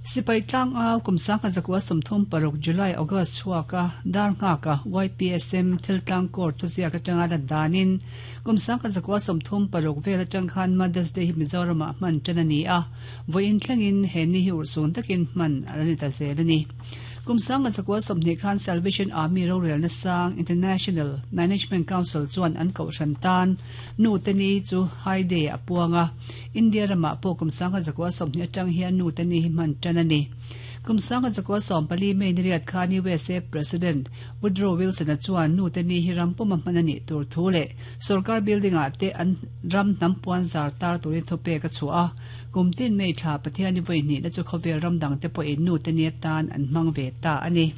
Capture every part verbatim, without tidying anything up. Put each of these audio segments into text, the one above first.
Sipai tlang au kum sangkhat zakua sawmthum paruk July August chhuaka dar nghaka Y P S M thil tlang kor thu ziak atanga lan danin kum sangkhat zakua sawmthum paruk vel atang khan Mother's Day hi Mizoramah hman tan ani a, vawiin thlengin he ni hi urhsun takin hman ani ta zel ani. Kum sangkhat zakua sawmhnih khan Salvation Army rorel na sang International Management Council chuan an kohhran tan nu te ni chu High Day a puanga. India rama pawh kum sangkhat zakua sawmhnih atang hian nu te ni hi hman tan ani. Kum sangkhat zakua sawmpali May ni riat khan U S A President Woodrow Wilson a chuan nu te ni hi ram puma hman ani tur thu le sarkar building a te an ram hnam puan zar tar turin thupe ka chua. Kum tin May thla Pathian ni voi ni na chu khawvel ram dang te pawh in nu te ni tan an hmang ve ta ani.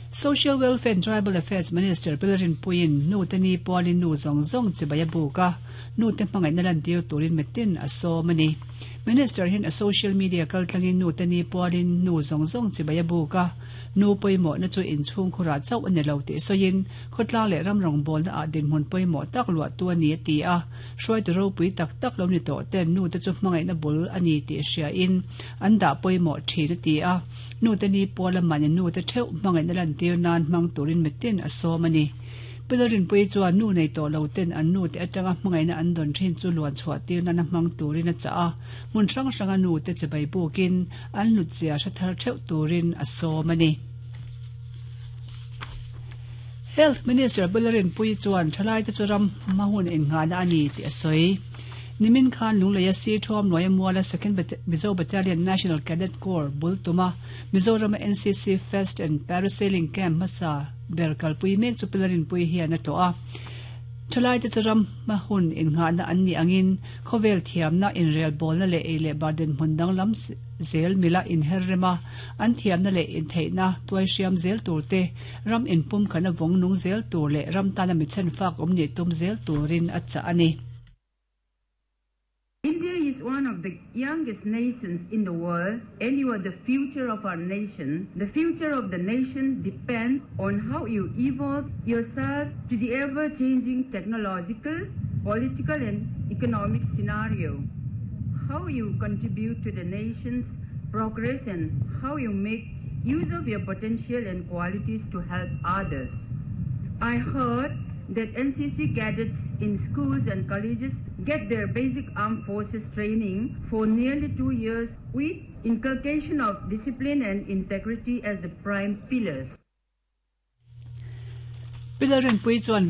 Social Welfare and Tribal Affairs Minister Pilarin Puin nu te ni pualin nu zong zong chibaya buka nu te hmangai na lan tir turin metin a som ani. Minister hin a social media kal tlangin nu te ni pualin nu zong zong chibaya buka nu poimo na chu in chung khura chau ani lo ti soin khotlang le ram rong bol na a din hmun poimo tak lua tu ani ti a. Hruai tu ro pui tak tak lo ni to ten nu te chu hmangai na bul ani ti hria in an da poimo thi ti a. Nu te ni puala man nu te theu hmangai na lan tir nan hmang turin mitin a som ani. Pilarin pui chuan nu nei to lo ten an nu te atanga hmangai na an don thin chu luan chhuah tir na na hmang turin a cha a. Mun hrang hranga nu te chibai bukin an lut zia hre thar theuh turin a som ani. Health Minister Pilarin pui chuan thalai te chu ram mahun in nga na ani ti a soi. Nimin khan lungleia si thom noya muala Second Mizo Battalion National Cadet Corps bultuma Mizoram N C C Fest and Parasailing Camp masa berkal pui mek chu pilarin pui hian a to a. Thalai te churam ma hun in nga na an ni angin khovel thiam na in rel bol na le e le barden hmundang lam zel mila in herrema an thiam na le in theina tuai siam zel tur te ram in pum khana vong nung zel tur le ram tana mi chen fak om ni tum zel turin a cha ani. India is one of the youngest nations in the world, and you are the future of our nation. The future of the nation depends on how you evolve yourself to the ever-changing technological, political, and economic scenario. How you contribute to the nation's progress and how you make use of your potential and qualities to help others. I heard that N C C cadets in schools and colleges get their basic armed forces training for nearly two years with inculcation of discipline and integrity as the prime pillars. Pilarin pui chuan